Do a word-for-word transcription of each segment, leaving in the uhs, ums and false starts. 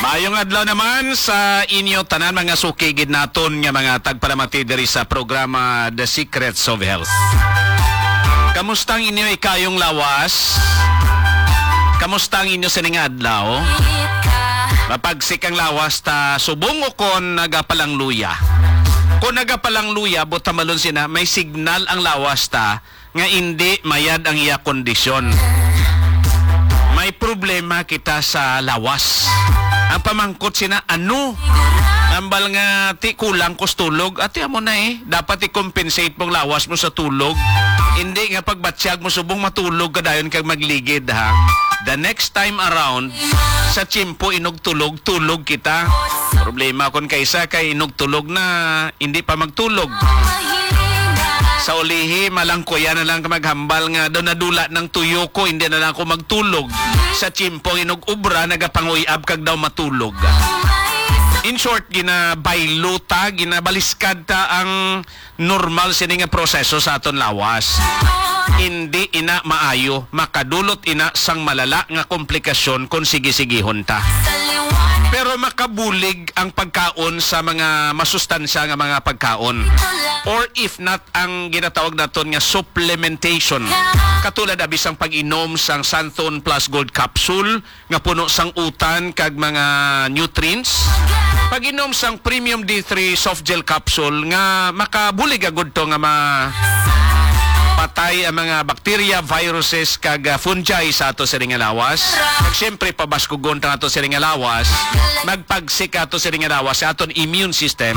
Ayong adlaw naman sa inyo tanan, mga suki gid naton nga mga tagpalamati diri sa programa The Secrets of Health. Kamusta ang inyo ikayong lawas? Kamusta ang inyo sining adlaw? Mapagsik ang lawas ta subong o kon nagapalangluya? Kon nagapalangluya, buot hambalon sina, may signal ang lawas ta nga indi mayad ang iya kondisyon. May problema kita sa lawas. Ang pamangkot sina, ano? Hambal nga, "Ti, kulang ko sa tulog." Ati, amo na eh. Dapat i-compensate mong lawas mo sa tulog. Hindi nga pagbatyag mo subong matulog ka dayon kag magligid, ha. The next time around, sa tiyempo inugtulog, tulog kita. Problema kon kaisa kay inugtulog na, hindi pa magtulog. Sa ulihi, malangkuyan na lang ka maghambal nga daw nadula ng tuyo ko, hindi na lang ako magtulog. Sa tiyempo inug-obra, nagapanguy-ab kag daw matulog. In short, ginabaylo ta, ginabaliskad ta ang normal sini nga proseso sa aton lawas. Hindi ina maayo, makadulot ina sang malala nga komplikasyon kon sige-sigihon ta. Pero makabulig ang pagkaon sa mga masustansya nga mga pagkaon, or if not, ang ginatawag naton nga supplementation, katulad abi sang pag-inom sang Santhon Plus Gold Capsule nga puno sang utan kag mga nutrients, pag-inom sang Premium D three Soft Gel Capsule nga makabulig agud to nga ma-, patay ang mga bakterya, viruses, kag, ah, fungi sa ato sining nga lawas. Kag siyempre, pabaskugon ta ato sining nga lawas, magpagsik ato sining nga lawas sa aton immune system.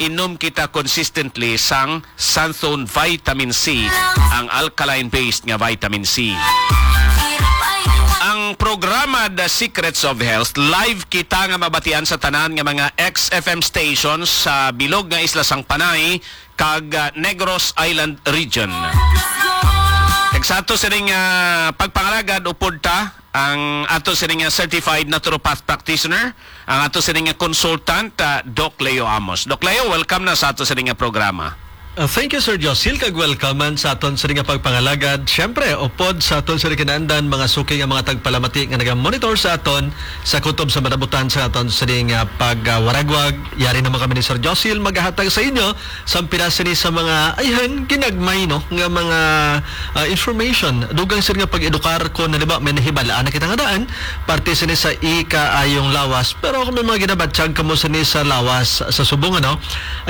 Inom kita consistently sang Santhon Vitamin C, ang alkaline-based nga vitamin C. Ang programa The Secrets of Health, live kita nga mabatian sa tanan nga mga X F M stations sa bilog nga isla sang Panay kag, ah, Negros Island region. Kag sa ato sining, ah, pagpangalagad, upod ta ang ato sining, ah, certified naturopath practitioner, ang ato sining nga consultant, ah, Doc Leo Amos. Doc Leo, welcome na sa ato sining nga programa. Uh, thank you, Sir Josil, kag welcome man sa aton sining nga pagpangalagad. Siyempre, upod sa aton sining kinaandan, mga suki nga mga tagpalamati nga naga-monitor sa aton sa kutob sa manabutan sa aton sining nga pagwaragwag. Yari naman kami ni Sir Josil magahatag sa inyo sang pila sini sa mga, ayhan, ginagmay, no, nga mga, ah, information. Dugang sir nga pag-edukar kon halimbawa may nahibalaan na kita nga daan, parte sini sa ikaayong lawas. Pero kung may mga ginabatyag kamo sini sa lawas sa subong, ano,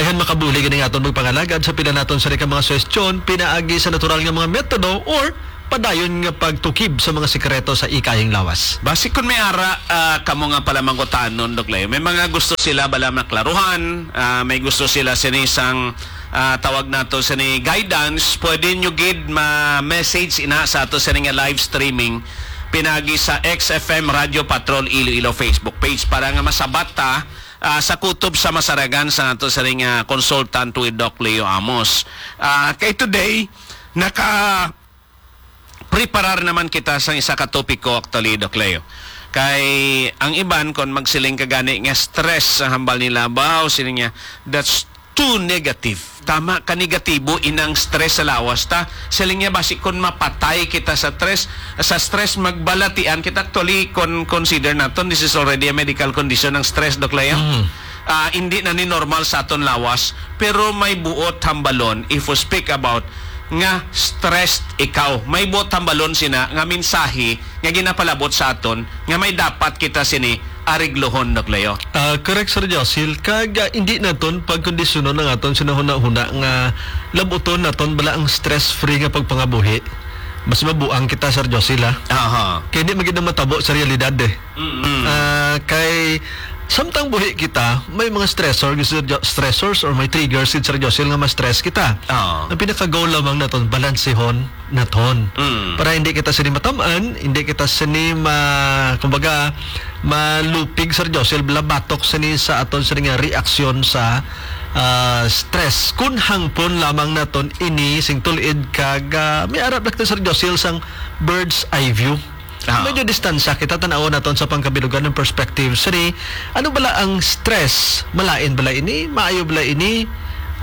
ayhan, makabulig gani nga aton magpangalagad sa pila naton sini ka mga suhestyon pinaagi sa natural nga mga metodo or padayon nga pagtukib sa mga sikreto sa ikaayong lawas. Basi kon may ara, ah, kamo nga palamangkutanon, Doc Leo, may mga gusto sila bala maklaruhan, ah, may gusto sila sini sang, ah, tawag nato sini guidance, pwede nyo gid ma-message ina sa ato sini nga live streaming pinagi sa X F M Radio Patrol Iloilo Facebook page para nga masabat ta, ah, sa kutob sa masaragan sa ato sini nga consultant with Doc Leo Amos. Ah, kay today, naka preparar naman kita sa isa ka topiko, actually, Doc Leo. Kay ang iban, kon magsiling ka gani nga stress ang hambal nila, baw, siling niya, "That's too negative. Tama ka negatibo inang stress sa lawas ta." Siling niya, basi kon mapatay kita sa stress, sa stress, magbalatian kita. Actually, kon consider naton, this is already a medical condition ang stress, Doc Leo. Mm. Ah, hindi na ni normal sa aton lawas, pero may buot hambalon if we speak about nga stressed ikaw. May buot hambalon sina nga mensahe nga ginapalabot sa aton nga may dapat kita sini ariglohon, Doc Leo. Ah, correct, Sir Josil. Kag, ah, hindi naton pagkondisyonon ang aton sinahuna-huna nga labuton naton bala ang stress-free nga pagpangabuhi. Mas mabuang kita, Sir Josil, ha? Aha. Kay di man gid na matabo sa realidad, eh. Mm-mm. Ah, kay samtang buhi kita, may mga stressor, gid, Sir Jo-, stressors or may triggers, gid, Sir Josil, nga ma-stress kita. Oo. Ang pinaka-goal lamang naton, balansehon naton. Mm. Para hindi kita sini matam-an, hindi kita sini ma-, kumbaga, malupig, Sir Josil, bala batok sini sa aton sini nga reaksyon sa, ah, stress. Kun hangpon lamang naton ini sing tul-id kag, ah, may arap na kita, Sir Josil, sang bird's eye view. Ah. Medyo distansya kita, tan-awon naton sa pangkabilugan ng perspective. Sini, ano bala ang stress? Malain bala ini? Maayo bala ini?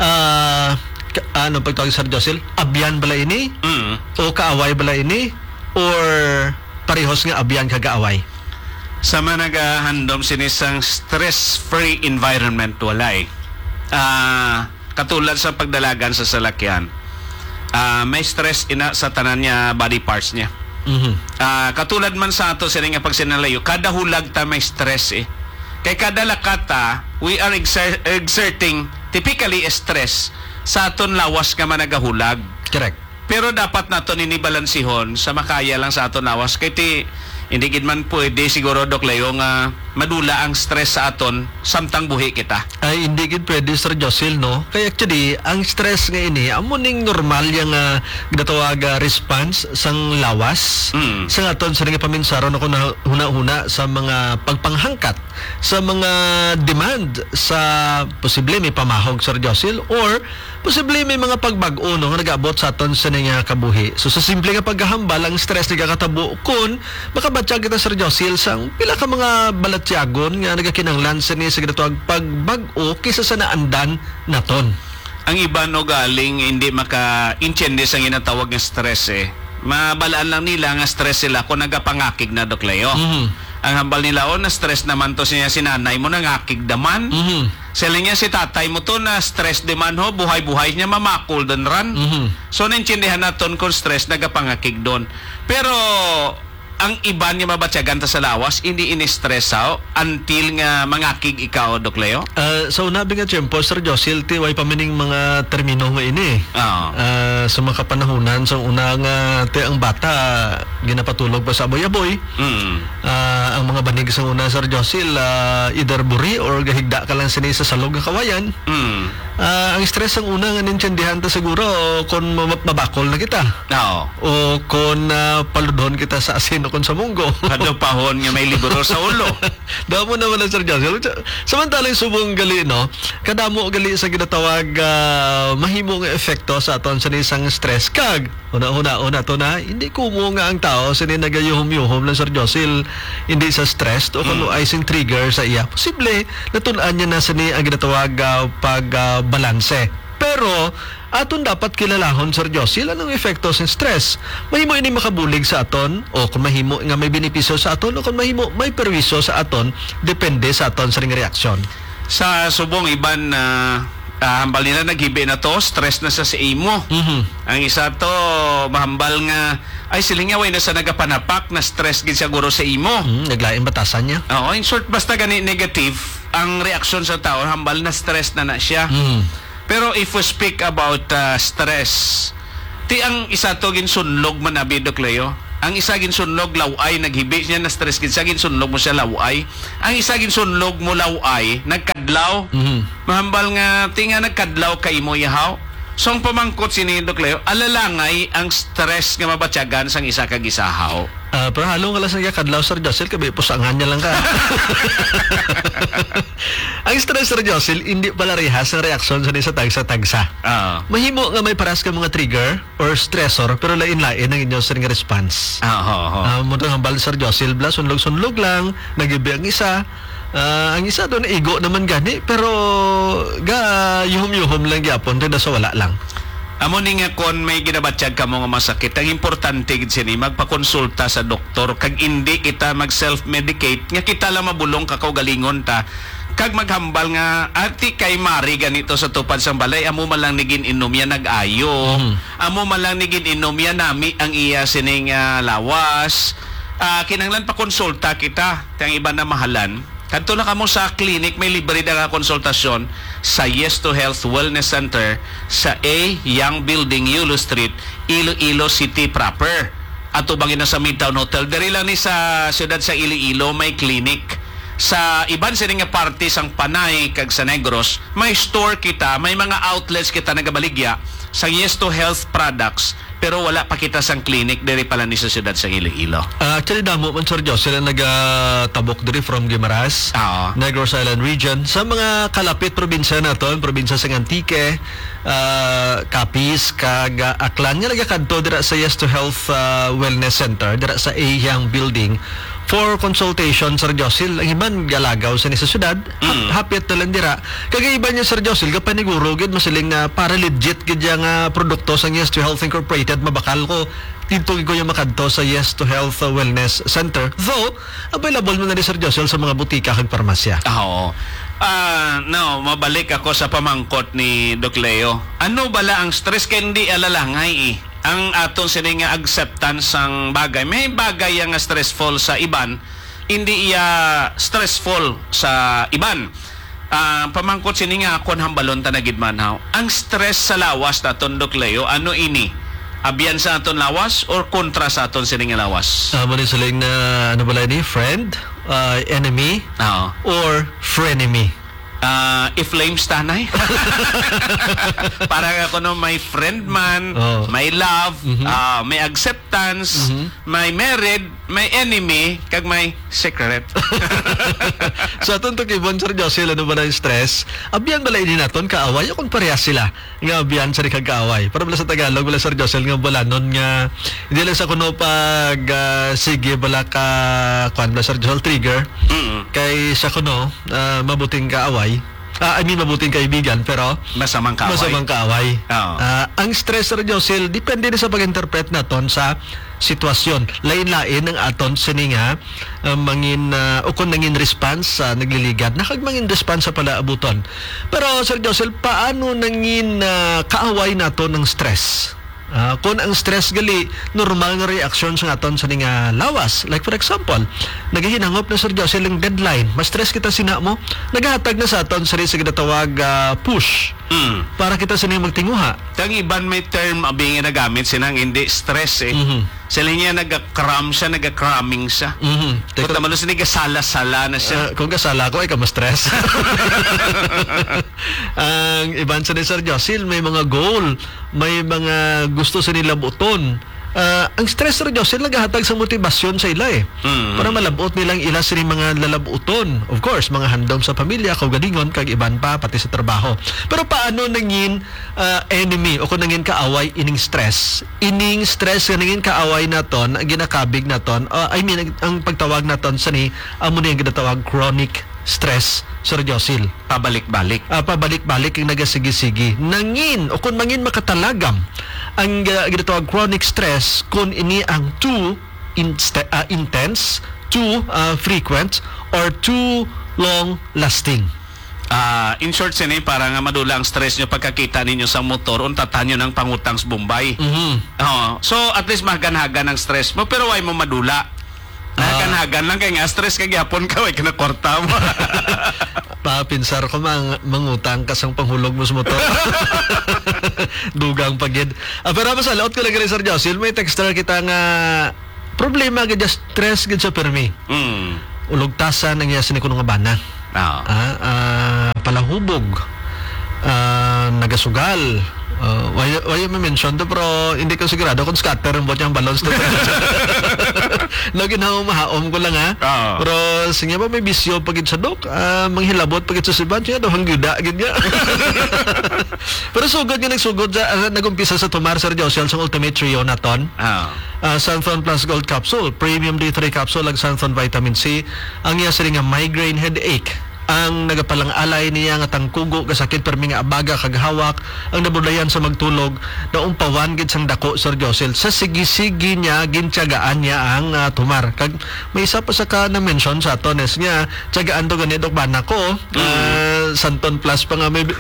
Ah, ka-, ano pagtawag, Sir Josil? Abyan bala ini? Mm. O kaaway bala ini? Or parehos nga abyan kag kaaway? Sa mga nagahandom sini sang stress-free environment, walay. Ah, katulad sa pagdalagan sa salakyan, ah, may stress ina sa tanan niya body parts niya. Mhm. Ah, katulad man sa ato sini nga pagsinalayo, kada hulag ta may stress eh. Kay kada lakata, we are exer-, exerting typically stress sa aton lawas nga managahulag. Correct. Pero dapat naton ini balansihon sa makaya lang sa aton lawas. Kay ti, hindi gid man pwede siguro, Doc Leo, nga madula ang stress sa aton samtang buhi kita. Ay, hindi gid pwede, Sir Josil, no? Kay actually, ang stress nga ini, amo ning normal yang, ah, ginatawag, ah, response sang lawas. Mm. Sa aton, sa nga paminsaron ako na huna-huna sa mga pagpanghangkat, sa mga demand sa posible may pamahog, Sir Josil, or posible may mga pagbag-o, no, nga nag-abot sa aton sa nga kabuhi. So, sa simple nga paghahambal, ang stress nagakatabo kun makabatyag kita, Sir Josil, sang pila ka mga balatyagon nga nagakinahanglan sini sa ginatawag pagbag-o kaysa sa naandan naton. Ang iban ugaling hindi maka-intindi sa ginatawag nga stress eh. Mabalaan lang nila nga stress sila kung nagapangakig na, Doc Leo. Mhm. Ang hambal nila, "Oh, na-stress naman to siya, si nanay mo nangakig naman." Mhm. Sila niya, "Si tatay mo to na-stress di man ho, buhay-buhay niya mamakol dun ran." Mhm. So, naintindihan naton kung stress nagapangakig dun. Pero, ang iban nga mabatyagan ta sa lawas, hindi ini stress, ha, until nga mangakig ikaw, Doc Leo? Ah, sa una bi nga tiyempo, Sir Josil, ti, way pa maning mga termino nga ini. Oo. Ah, sa mga kapanahunan, sa una nga, ti, ang bata, ginapatulog pa sa aboy-aboy. Mm. Ah, ang mga banig sa una, Sir Josil, ah, either buri or gahigda ka lang sini sa salog nga kawayan. Mm. Ah, ang stress ang una nga nintindihan ta siguro kung ma-, mabakol na kita. Oo. O kung, ah, paludhon kita sa asin o kung sa munggo. Padupahon nga may libro sa ulo. Damo naman ang Sir Josil. Samantalang subong gali, no? Kadamo gali sa ginatawag, ah, mahimo nga epekto sa aton sa isang stress. Kag, una-una, una to na, hindi kumo nga ang tao sini nagayuhom-yuhom lang, Sir Josil, hindi sa stress o kung Mm. ay sing trigger sa iya. Posible, natun-an niya na sini ang ginatawag, ah, pag, ah, balanse. Pero, aton dapat kilalahon, Sir Josil, anong epekto sa stress. Mahimo ini makabulig sa aton, o kung mahimo nga may benepisyo sa aton, o kung mahimo may perwisyo sa aton, depende sa aton sa ring reaksyon. Sa subong iban, ah, ah, hambal nila, "Naghibi na to, stress na sa, sa imo." Mhm. Ang isa to, mahambal nga, "Ay, siling niya, way na sa nagapanapak, na-stress gid siguro sa imo." Hmm, naglain batasan niya. Oo, in short, basta gani negative ang reaksyon sa tao, hambal na-stress na na siya. Mhm. Pero if we speak about, ah, stress, ti ang isa to ginsunlog man abi, Doc Leo. Ang isa ginsunlog, law-ay, naghibi siya, na-stress gid siya, ginsunlog mo siya, law-ay. Ang isa ginsunlog mo, law-ay, nagkadlaw. Mhm. Mahambal nga, ti nga nagkadlaw kay mo, yahaw. So, ang pamangkot sini, Doc Leo, alalangay ang stress nga mabatyagan sang isa kag isa, haw. Ah, pero halong ka lang sa kadlaw, Sir Josil, kay pusangan niya lang ka. Ang stress, Sir Josil, hindi pala rehas ang reaksyon sa isa tagsa-tagsa. Oo. Mahimo nga may paras ka mga trigger or stressor, pero lain-lain ang inyo, sir, nga response. Ah, oo, oo. Ah, mo hambal, Sir Josil, bla, sunlog-sunlog lang, nagibi ang isa. Ah, ang isa doon, igo naman gani, pero ga yuhom-yuhom lang gyapon, tada sa wala lang. Amo ni nga kon may ginabatyag kamo nga masakit, ang importante gid sini magpakonsulta sa doktor kag indi kita mag self-medicate nga kita lang mabulong ka kaugalingon ta kag maghambal nga, "Ati kay Mari ganito sa tupad sang balay, amo man lang ni gin-inom ya nag-ayo. Mm. Amo man lang ni gin-inom ya nami ang iya sining, ah, lawas." Ah, kinahanglan pakonsulta kita, ti ang iban na mahalan. Kadto na kamo sa clinic, may libre na nga konsultasyon sa Yes to Health Wellness Center sa A Young Building, Yulo Street, Iloilo City proper. Atubang na sa Midtown Hotel. Diri lang ni sa siyudad sa Iloilo may clinic. Sa iban sini nga parte sang Panay kag sa Negros, may store kita, may mga outlets kita nagabaligya sa Yes to Health products. Pero wala pa kita sang clinic diri pala ni sa siyudad sa Iloilo. Ah, actually, damo man, Sir Jocelyn, nagatabok diri from Guimaras, Oo. Negros Island Region. Sa mga kalapit probinsya naton, probinsya sa Antique, ah, Capiz, kag, ah, Aklan, nga nagakadto dira sa Yes to Health, ah, Wellness Center, dira sa Eyang Building for consultation, Sir Jocelyn. Ang iban galagaw sa ni sa syudad, hap-, Mm. hapit na lang dira. Kag iban niya, Sir Jocelyn, kapaniguro gid, masiling na para legit gid yang, ah, produkto sa Yes to Health Incorporated, mabakal ko. dito gid ko yung makadto sa Yes to Health, uh, Wellness Center. Though, available man na ni Sir Josel sa mga butika kag parmasya. Ah, oo. Ah, no, mabalik ako sa pamangkot ni Doc Leo. Ano bala ang stress? Kay hindi alalangay, eh. Ang aton sini nga acceptance sang bagay. May bagay yang stressful sa iban, hindi iya stressful sa iban. Ah, pamangkot sini nga akon hambalon ta na gid man, haw. Ang stress sa lawas naton, Doc Leo, ano ini? Abyan sa aton lawas or kontra sa aton sini nga lawas? Ah, mo ni siling na, ano bala ni? Friend? Ah, enemy? Oo. Or frenemy? Ah, if flames tanay. Para nga kuno may friend man, Oo. may love, Mhm. ah, may acceptance, Mhm. may married, may enemy, kag may secret. Sa aton tukibon, Sir Josel, ano ba na yung stress? Abyan bala ini naton kaaway o kung parehas sila nga abyan sa kag kaaway? Para bala sa Tagalog, wala, Sir Josel, nga balanon nga hindi lang sa kuno pag, ah, sige bala ka, kuwan bala, Sir Josel, trigger. Mm. Kay sa kuno, ah, mabuting kaaway. Ah, I mean, mabuting kaibigan, pero Masamang kaaway. masamang kaaway. Oo. Ah, ang stress, Sir Josel, depende na sa pag-interpret naton sa sitwasyon. Lain-lain ang aton sini nga, ah, mangin, ah, o kung nangin response sa nagliligad, na kag mangin response sa palaabuton. Pero, Sir Josel, paano nangin, ah, kaaway nato ng stress? Ah, kung ang stress gali, normal nga reaksyon sa aton sa ning, ah, lawas. Like, for example, nagahinangop na, Sir Josel, ang deadline. Ma-stress kita sina mo, nagahatag na sa aton sa, sa ginatawag, ah, push Mm. para kita sini magtinguha. Kang iban may term abi nga nagamit sila nga hindi stress, eh. Mhm. Sila niya nagakram siya, nagakraming siya. Mhm. Teka Kung tamalo sila gasala-sala na siya. Ah, kung gasala ko, ay ka ma-stress. Ang iban sa ni Sir Josil, may mga goal, may mga gusto sa nila buton. Ah, ang stress, Sir Josil, nagahatag sa motibasyon sa ila, eh. Mm. Para malabot nilang ila sini mga lalabuton. Of course, mga handom sa pamilya, kaugalingon, kag iban pa, pati sa trabaho. Pero paano nangin, ah, enemy o kung nangin kaaway ining stress? Ining stress nga nangin kaaway naton, ang ginakabig naton, ah, I mean, ang, ang pagtawag naton sa ni, amo ni ang ginatawag chronic stress, Sir Josil. Pabalik-balik. Ah, pabalik-balik ang nagasigi-sigi. Nangin, o kung mangin makatalagam, ang, ah, ginatawag chronic stress, kung ini ang too inst-, ah, intense, too, ah, frequent, or too long lasting. Ah, in short, sini, para nga madula ang stress nyo pagkakita ninyo sa motor, untatan nyo ng pangutang sa Bombay. Mhm. Oo. So, at least mahagan-hagan ang stress mo, pero why mo madula? Ah. Nahagan-hagan lang kay nga stress ka gyapon ka, way ka na kwarta mo. Papinsar ko, mang-, mangutang ka sang panghulog mo sa motor. Dugang pa gid. Ah, pero masalaot ko lang gali, Sir Josil, may texter kita nga problema gid, just stress gid sa permi. Mm. Ulugtasan ang iya sini kuno nga bana. Ah. Ah, ah, palahubog. Ah, nagasugal. Ah, wala, wala may mention to, pero hindi ko sigurado kung scatter ang buot niyang balloons to. No, ginawa, mahaom ko lang, ha? Oo. Pero sige ba, may bisyo pa gid sa dok. Ah, manghilabot pa gid sa sibat. Siya daw, hangguda gid niya. Pero sugod nga nagsugod sa, ah, nag-umpisa sa tumar, Sir Josel, sa Ultimate Trio naton. Ah. Ah, Santhon Plus Gold Capsule, Premium D three Capsule, ag Santhon Vitamin C, ang iya sini nga migraine headache, ang nagapalang-alay niya nga tangkugo, kasakit, permi nga abaga kag hawak, ang nabudlayan sa magtulog, naumpawan gid sang dako, Sir Josel. Sa sigi-sigi niya, gintiyagaan niya ang, ah, tumar. Kag may isa pa sa ka na-mention sa aton, is nga, tiyagaan to gani, Dok, bana ko, Mm. ah, Santhon Plus pa nga may, may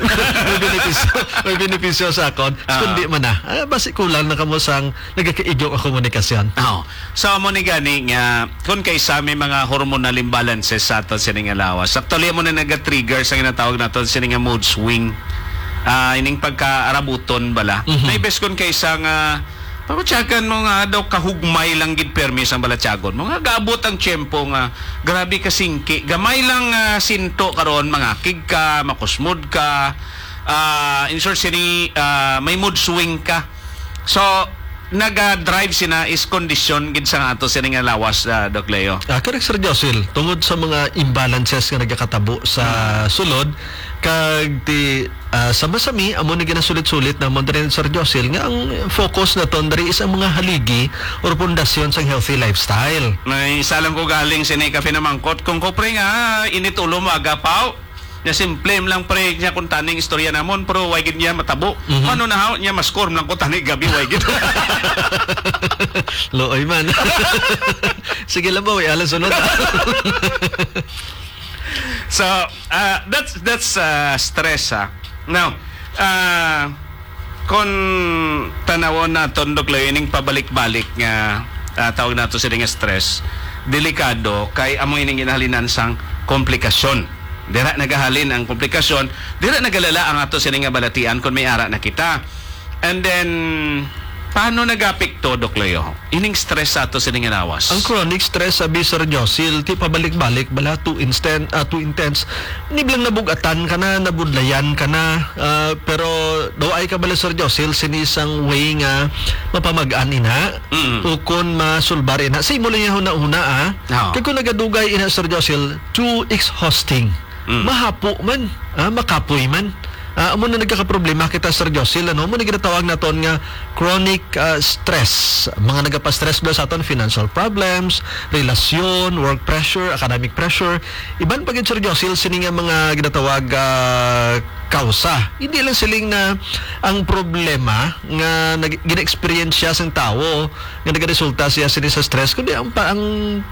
benepisyo, may benepisyo sa akon. Ah. Kundi man na, ah, basi kulang na kamo sang nagakaigo nga komunikasyon. Oo. So, amo ni gani nga, kung kaysa may mga hormonal imbalances sa aton sini nga lawas, actually, amo na naga-trigger sa ginatawag naton sini nga mood swing. Ah, ining pagkaarabuton bala. Mhm. May bes kung kaysa nga, pamatyagan mo nga daw kahugmay lang gid permi sang balatyagon mo. Nga gaabot ang tiyempo nga grabe ka singki. Gamay lang, ah, sinto karon, mangakig ka, makusmod ka. Ah, in short, sini, ah, may mood swing ka. So, naga-drive sina is kondisyon gid sa ato sini nga lawas, ah, Doc Leo. Ah, correct, Sir Josil. Tungod sa mga imbalances nga nagakatabo sa Hmm. sulod, kag ti, ah, sa masami, amo ni ginasulit-sulit namon diri, Sir Josil, nga ang focus naton diri is ang mga haligi or pundasyon sang healthy lifestyle. May isa lang ko galing sini ka pinamangkot. Kung ko, pre, nga init ulo mo, agapaw, Nya simple man lang, pre, niya kung taning istorya namon, pero way gid niya matabo. Mhm. Ano na haw niya, mas korm lang ko tani gabi, way gid. Luoy man. Sige lang ba, way alas sunod. So, ah, that's, that's, ah, stress, ah. Now, ah, kung tanawon naton, Doc Leo, ining pabalik-balik nga, ah, tawag nato sini nga stress, delikado kay amo ining ginahalinan sang komplikasyon. Dira nagahalin ang komplikasyon, dira nagalala ang ato sini nga balatian kung may ara na kita. And then, paano nagapekto, Doc Leo, ining stress sa ato sini nga lawas? Ang chronic stress, sabi Sir Josil, ti pabalik-balik bala, too instant, ah, too intense. Niblang nabugatan ka na, nabudlayan ka na, ah, pero daw ay ka bala, Sir Josil, sini sang way nga mapamag-an ina, Mm. ukon masulbar ina. Sa imo lang yung huna-huna, ah. Oo. Kay kung nagadugay ina, Sir Josil, too exhausting. Mm. Mahapo man, ah, makapoy man. Ah, amo na nagkakaproblema kita, Sir Josil, ano? Amo na ginatawag naton nga chronic, ah, stress. Mga nagapastress ba sa aton, financial problems, relasyon, work pressure, academic pressure. Iban pa gid, Sir Josil, sini nga mga ginatawag, ah, kausa. Hindi lang siling na ang problema nga nag-, gina-experience siya sang tawo nga nagaresulta siya sini sa stress, kundi ang pa-, ang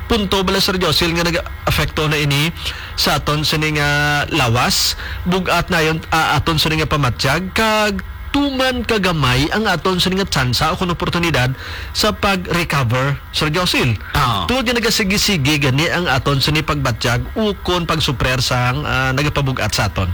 punto bala, Sir Josil, nga nag-apekto na ini sa aton sini nga lawas, bug-at na yon, ah, aton sini nga pamatyag, kag tuman kagamay ang aton sini nga tsansa o kon oportunidad sa pag-recover, Sir Josil. Ah. Tungod nga nagasigi-sige gani ang aton sini pagbatyag ukon pagsuprer sang, ah, nagapabug-at sa aton.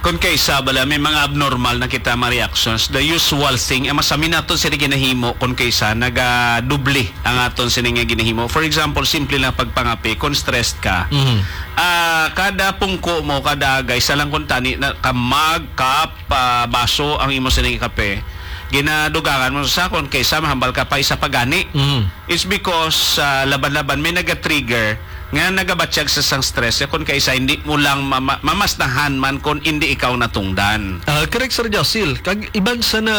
Kon kaysa bala may mga abnormal na kita mga reactions, the usual thing, ang masami naton sini ginahimo kon kaysa nagadoble ang aton sini nga ginahimo. For example, simple lang pagpangape, kon stressed ka, Mhm. ah, kada pungko mo, kada agay, sa lang kuntani na ka mug cup, ah, baso ang imo sini nga kape, ginadugangan mo sa kon kaysa mahambal ka pa isa pa gani. Mhm. It's because, ah, laban-laban may naga-trigger nga nagabatyag sa sang stress, eh, kon kaysa hindi mo lang mama-, mamasnahan man kon hindi ikaw natungdan. Ah, correct, Sir Josil. Kag iban sa na,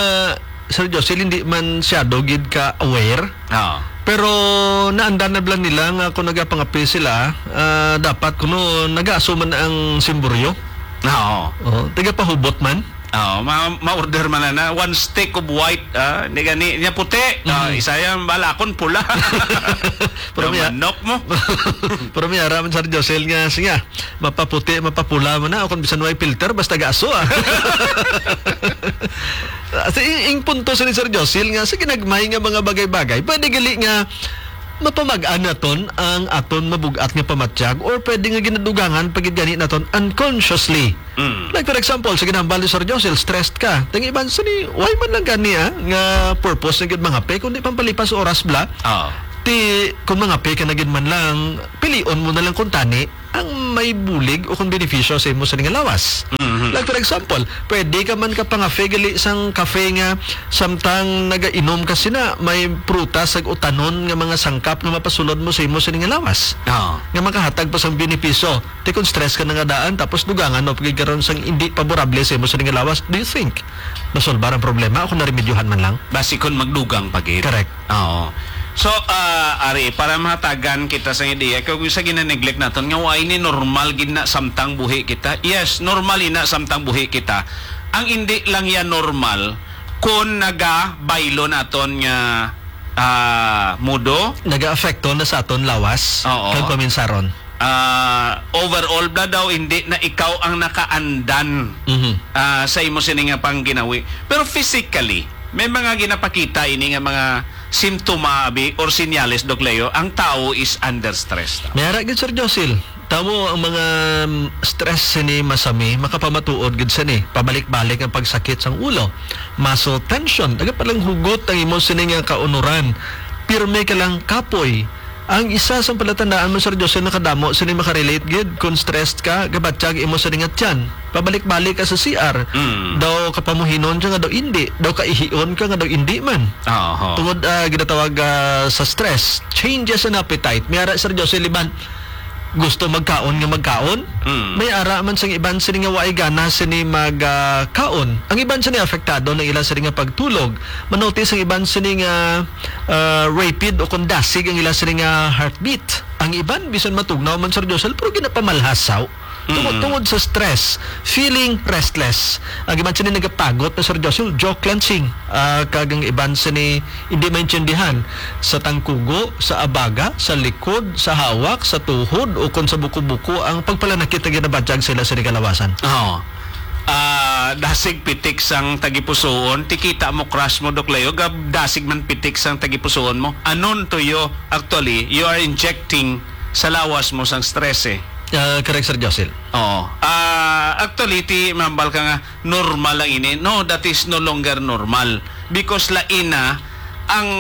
Sir Josil, hindi man siyado gid ka aware. Oo. Pero naandan na bala nila nga kung nagapangape sila, ah, dapat kuno nagaaso man ang simburyo. Oo. Oh, tagapahubot man. Oo, ma-, ma-order man na, na one stick of white, ah, ni gani, niya puti. Ah, Mhm. isa yan, bala, akon pula. Pero Ang may manok mo. Pero may ara man, Sir Josil, nga, sige, mapaputi, mapapula man na, o kung bisan way filter, basta gaaso, ah. Sa ing, ing punto sa ni Sir Josil nga, sa ginagmay nga mga bagay-bagay, pwede gali nga mapamag-an naton ang aton mabug-at nga pamatyag, or pwede nga ginadugangan pa gid gani naton unconsciously. Mm. Like, for example, sa ginambal ni Sir Josil, stressed ka. Tang iban sa ni, why man lang gani, ah, nga purpose na gid mangape, kundi pampalipas oras bala. Oo. Ti, kung mangape ka na gid man lang, pilion mo na lang kung tani ang may bulig o kung benepisyo sa imo sa nga lawas. Mhm. Like, for example, pwede ka man ka pangafe gali sang kafe nga samtang nagainom ka sina, may prutas ug utanon nga mga sangkap nga mapasulod mo sa imo sa nga lawas. Oo. Nga makahatag pa sang benepisyo. Ti kung stress ka na nga daan, tapos dugangan mo pagid karon sang hindi paborable sa imo sa nga lawas, do you think masolbar ang problema o kung naremedyohan man lang? Basi kung magdugang pa gid. Correct. Oo. So, ah, ari, para mahatagan kita sa ideya, kay kung sa gina-neglect naton, nga wala ni normal gid na samtang buhi kita. Yes, normal ina samtang buhi kita. Ang hindi lang yan normal kung nagabaylo naton nga, ah, mudo. Nagaapekto na sa aton lawas. Oo. Kag paminsaron. Ah, overall bala daw, hindi na ikaw ang nakaandan, Mhm. ah, sa imo sini nga pangginawi. Pero physically, may mga ginapakita ini nga mga simptoma, abi, or senyales, Doc Leo, ang tao is under stress. May ara gid, Sir Josil. Tamo ang mga, mm, stress sini masami, makapamatuod gid sini. Pabalik-balik ang pagsakit sang ulo, muscle tension, nagapalanghugot ang imo sini nga kaunuran. Pirme ka lang kapoy. Ang isa sang palatandaan mo, Sir Jose, nakadamo sini makarelate gid. Kung stressed ka, gabatyag imo sa dingat tiyan. Pabalik-balik ka sa C R. Mm. Daw kapamuhinon ka nga daw indi. Daw kaihion ka nga daw indi man. Oho. Tungod, ah, ginatawag, ah, sa stress, changes in appetite. May ara, Sir Jose, liban, gusto magkaon nga magkaon. Mm. May ara man sang iban sini nga waay gana sini mag, ah, kaon. Ang iban sini apektado ng ila sini nga pagtulog. Manotis ang iban sini nga, ah, rapid o kung dasig ang ila sini nga heartbeat. Ang iban, bisan matugnaw man, Sir Josel, pero ginapamalhasaw. Tungod, Mm. tungod sa stress, feeling restless. Ang iban sini nagapagod na, Sir Joshua, jaw clenching. Ah, kag ang iban sini hindi maintindihan sa tangkugo, sa abaga, sa likod, sa hawak, sa tuhod, o kon sa buko-buko ang pagpalanakit nga ginabatyag sila sa kalawasan. Oo. Ah, dasig pitik sang tagipusoon, ti kita mo crush mo, Doc Leo, gab dasig man pitik sang tagipusoon mo. Anon to you, actually, you are injecting sa lawas mo sang stress eh. Ah, correct, Sir Josil. Oo. Ah, actually, ti mambal ka nga normal lang ini. No, that is no longer normal. Because lain na ang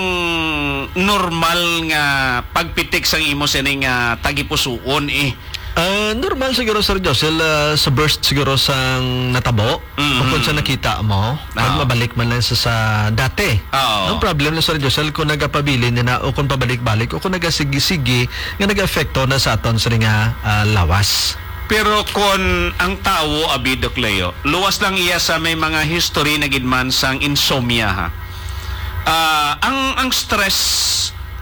normal nga pagpitik sang imo sining, ah, tagipusoon eh. Ah, normal siguro, Sir Josil, ah, sa burst siguro sang natabo. Mm. O kung sa nakita mo, kag Oo. mabalik man lang sa, sa dati. Oo. Ang problem na, Sir Josil, kung nagapabilin na o kung pabalik-balik o kung nagasigi-sigi nga nag-apekto na sa aton sa nga, ah, lawas. Pero kon ang tawo, abi, Doc Leo, luwas lang iya sa may mga history na gid man sang insomnia, ha. Ah, ang, ang stress,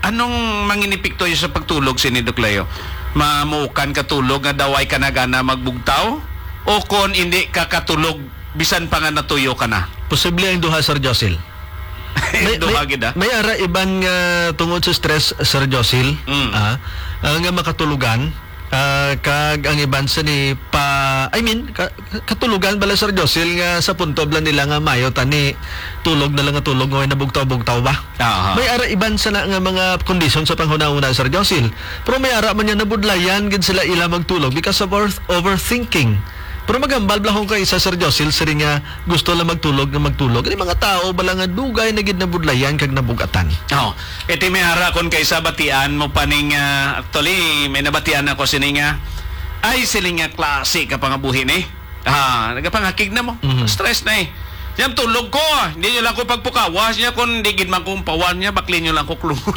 anong manginipikto sa pagtulog sini, Doc Leo? Mamukan ka tulog nga daw ay ka na gana magbugtaw? O kon hindi ka katulog, bisan pa nga natuyo ka na? Posible ang duha, Sir Josil. May, Duha may, gid, ah. may ara iban nga tungod sa stress, Sir Josil, Mm. ah, ah, nga makatulugan, ah, kag ang iban sa ni pa, I mean, ka-, katulugan bala, Sir Josil, nga sa punto bala nila nga mayo tani tulog na lang nga tulog nga way nabugtaw-bugtaw ba? Aha. May ara iban sa na nga mga kondisyon sa panghunahuna, Sir Josil. Pero may ara man niya nabudlayan gid sila ila magtulog because of over-, overthinking. Pero magambal bala kung kay isa, Sir Josil, siri nga gusto lang magtulog nga magtulog. Ini mga tao bala nga dugay na gid nabudlayan kag nabugatan. Oh, iti may ara kon kay isa batian mo pa ning, ah, actually, may nabatian ako sini nga, ay, siling nga klase ka pangabuhi ni. Ah, nagapangakig na mo. Mhm. Stress na eh. Yan tulog ko, ah. Hindi nyo lang ko pagpukawas niya kung di gid man kong pawan niya, bakli nyo lang ko klungon.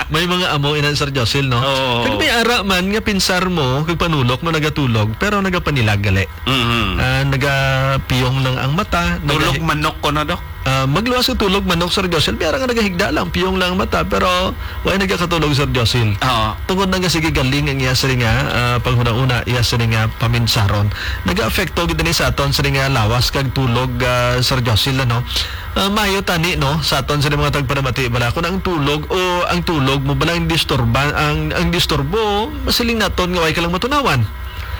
May mga amo inan, Sir Josil, no? Oo. Kag may ara man nga pinsar mo, kag panulok mo nagatulog, pero nagapanilag gali. Mhm. Ah, nagapiyong lang ang mata, Tulog naga- manok ko na, Dok. Ah, magluwas ang tulog manok, Sir Josil, may ara nga nagahigda lang, piyong lang ang mata, pero way nagakatulog, Sir Josil. Oo. Tungod na nga sige galing ang iya sini nga, ah, panghuna-una, iya sini nga paminsaron. Nagaapekto gid ni sa aton sini nga lawas kag tulog, ah, Sir Josil, ano? Ah, mayo tani, no, sa aton sini mga tagpanamati bala, kung ang tulog o ang tulog mo bala ang disturban, ang, ang disturbo, masiling naton nga way ka lang matunawan.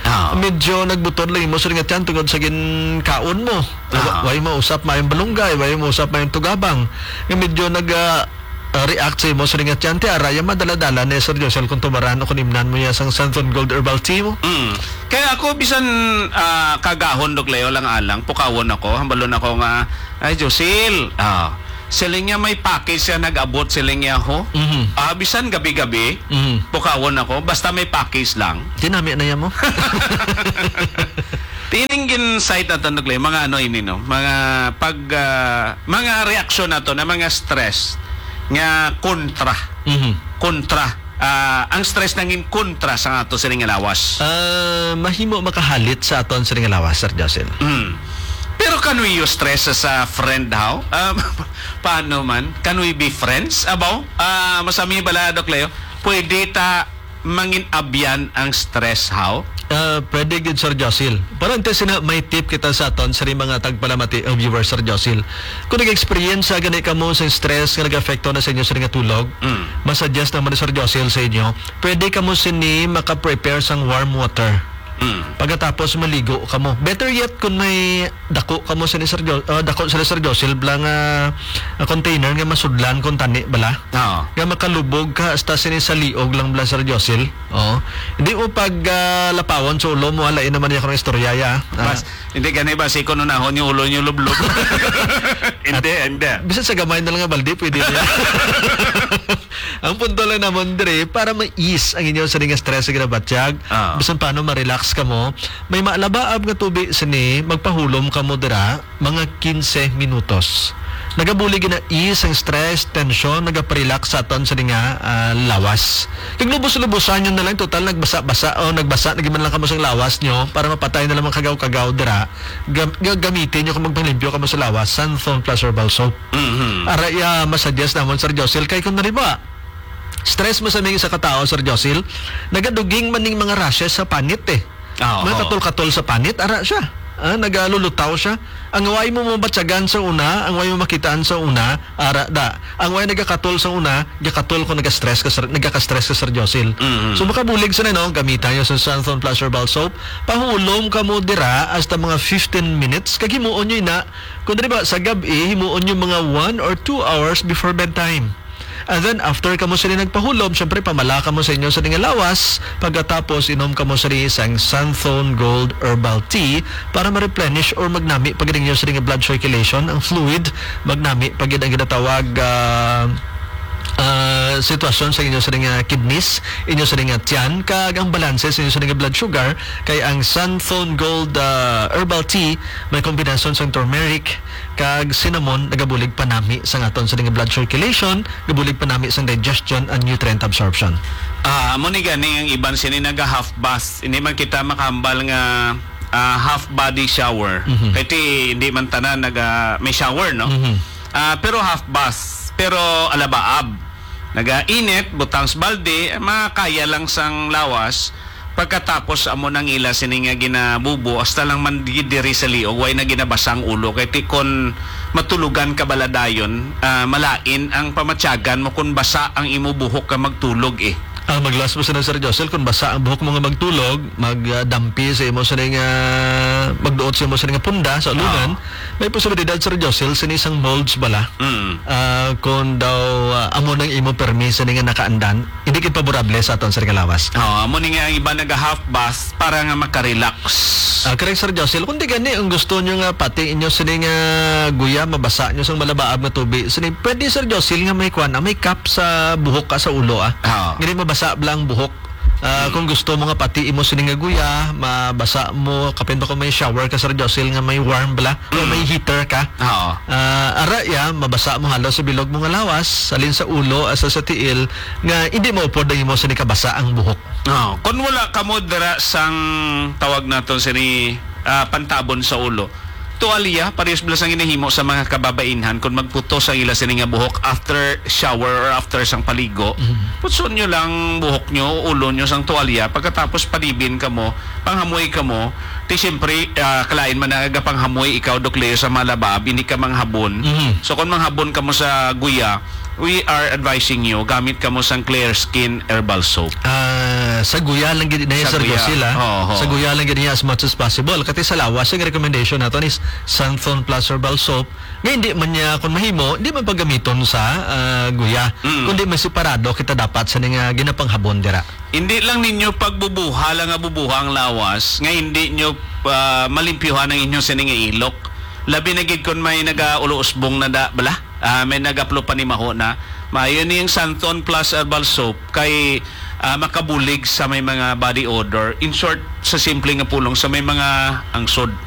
Ah. Medyo nagbutod lang imo sa nga tiyan tungod sa ginkaon mo. Ah. Way mausap mayong balunggay, way mausap mayong tugabang. Nga medyo nag, ah, ah, react sa imo sa nga tiyan, ti ara ya madala-dala ni Sir Josel kung tumaran o kung imnan mo ya sang Santon Gold Herbal Tea mo. Mm. Kaya ako bisan, ah, kagahon, Dok Leo, lang alang, pukawon ako, hambalon ako nga, "Ay, Josel, ah, siling niya may package siya nag-abot," siling niya, ho. Mhm. Ah, bisan gabi-gabi, Mhm. pukawon ako, basta may package lang. Tinami na yan mo. Tining gin-cite naton, Dok Leo, mga ano ini, no? Mga pag, ah, mga reaksyon nato na mga stress nga kontra. Mhm. Kontra. Ah, ang stress nangin kontra sa ato sining nga lawas. Ah, mahimo makahalit sa aton sining nga lawas, Sir Jocelyn. Mm. Pero can we use stress as a friend, how? Ah, paano man? Can we be friends? Abaw? Ah, masami bala, Dok Leo? Pwede ta mangin-abyan ang stress, how? Ah, pwede gid, Sir Josil. Pero antes sina, may tip kita sa aton sa mga tagpalamati o viewers, Sir Josil. Kung nag-experience sa gani kamo sa stress nga nag-apekto na sa inyo sa nga tulog, Mm. masuggest naman ni Sir Josil sa inyo, pwede kamo sini maka-prepare sang warm water. Mm. Pagkatapos maligo kamo. Better yet kung may dako kamo sa ni Sir Jo-, ah, dako sila Sir Josil bala nga, ah, container nga masudlan kung tani bala. Oo. Nga makalubog ka hasta sini sa liog lang bala Sir Josil. Oo. Hindi mo pag, ah, lapawon sa ulo mo, ala, yun naman yung istorya ya. Ah. Mas, hindi gani ba si kununahon yung ulo niyo lublob? Hindi, hindi. Bisan sa gamay na lang nga baldi, pwede na. Ang punto lang naman dire, para ma-ease ang inyo sa nga stress sa ginabatyag, Ah. bisan paano ma-relax kamo, may maalabaab nga tubi sini, magpahulom kamo dira, mga quince minutos. Nagabulig na ease ang stress, tension, nagaparelax sa aton sa nga, ah, lawas. Kag lubos-lubosan nyo na lang, total nagbasa-basa o nagbasa na giman lang kamo sa lawas nyo para mapatay na lang ang kagaw-kagaw dira. Gam-, ga-, gamitin nyo kung magpanglimpyo kamo sa lawas, Santhon Plus Herbal Soap. Mhm. Ara iya masuggest namon, Sir Josil, kay kung nariba, stress mo sa ming isa ka tao, Sir Josil, nagaduging man ning mga rashes sa panit eh. Ah, oo. Matatol-katol sa panit, ara siya. Ah, nagalulutaw siya. Ang way mo mabatyagan sa una, ang way mo makitaan sa una, ara da. Ang way nagakatol sa una, gakatol ko nagastress ka, Sir, nagaka-stress ka, Sir Josil. Mhm. So, makabulig sa no, gamita nyo sa Santhon Plus Herbal Soap. Pahulom ka mo dira hasta mga fifteen minutes. Kag himuon nyo ina, kung diri ba, sa gab-i, himuon nyo mga one or two hours before bedtime. And then, after kamo sini nagpahulom, syempre, pamala kamo sa inyo sa nga lawas. Pagkatapos, inom kamo sini sang Santhon Gold Herbal Tea para ma-replenish or magnami pa gid ang inyo sini nga blood circulation, ang fluid, magnami pa gid ang ginatawag, ah, ah, sitwasyon sa inyo sini nga kidneys, inyo sini nga tiyan, kag ang balanse sa inyo sini nga blood sugar, kay ang Santhon Gold, ah, Herbal Tea may kombinasyon sang turmeric kag cinnamon, nagabulig panami sa aton sini nga blood circulation, gabulig panami sang digestion and nutrient absorption. Ah, amo ni gani ang iban sini naga half bath. Hindi man kita makahambal nga, ah, half body shower. Mhm. Kay ti, hindi man tanan naga may shower, no? Mhm. Ah, pero half bath, pero alabaab. Nagainit, butang sa balde, makaya lang sang lawas. Pagkatapos amo nang ila sini nga ginabubo, hasta lang man gid diri sa liog, way na ginabasa ang ulo. Kay ti kon matulogan ka bala dayon, ah, malain ang pamatyagan mo kon basa ang imo buhok ka magtulog, eh. Ah, maglas mo sila, Sir Josel, kung basa ang buhok mo nga magtulog, magdampi sa imo sini nga, magduot sa imo sini nga punda sa ulungan, Oo. may posibilidad, Sir Josel, sini sang molds bala. Mm. Ah, kung daw, ah, amo nang imo permi sini nga nakaandan, hindi gid paborable sa aton, Sir, nga lawas. Oh, amo ni nga ang iba naga half bath para nga makarelax. Ah, correct, Sir Josel. Kung di gani, ang gusto nyo nga pati inyo sini nga guya, mabasa nyo sang malabaab nga tubig. Sini, pwede, Sir Josel, nga may kwan, ah, may cap sa buhok ka sa ulo, ah. Oo. Nga di mabasa bala ang buhok. Ah, Mm. kung gusto mo nga pati imo sini nga guya, mabasa mo, kapin ba kung may shower ka, Sir Josel, nga may warm bala, o Mm. may heater ka? Oo. Ah, ara ya, mabasa mo halos sa bilog mo nga lawas, halin sa ulo, asa sa tiil, nga hindi maupod ang imo sini kabasa ang buhok. Oh, kung wala kamo dira sang tawag naton sini, ah, pantabon sa ulo, tuwalya, parehas bala sang ginahimo sa mga kababainhan, kung magputos ang ila sini nga buhok after shower or after sang paligo, Mhm. putson nyo lang buhok nyo, ulo nyo sang tuwalya, pagkatapos padibin kamo, panghamoy kamo, ti siyempre, ah, kalain man na gapanghamoy ikaw, Doc Leo, sa malabab, hindi ka manghabon. Mhm. So, kung manghabon kamo sa guya, we are advising you, gamit kamo sang Clear Skin Herbal Soap. Ah, sa guya lang gid niya, Sa Sir guya. Josel, ah. Oo, oo. Sa guya lang gid niya as much as possible. Kati sa lawas, ang recommendation nato is Santhon Plus Herbal Soap. Nga hindi man niya, kung mahimo, hindi man paggamiton sa, ah, guya. Mm. Kundi may separado kita dapat sa nga ginapanghabon dira. Hindi lang ninyo pagbubuha lang nga bubuha ang lawas, nga hindi nyo, ah, malimpyuhan ang inyo sini nga ilok. Labi na gid kung may nagaulo-usbong na da, bala? Ah, may nagaplo panimaho na. Maayo ni ang Santon Plus Herbal Soap kay, ah, makabulig sa may mga body odor. In short, sa simple nga pulong, sa may mga angsod.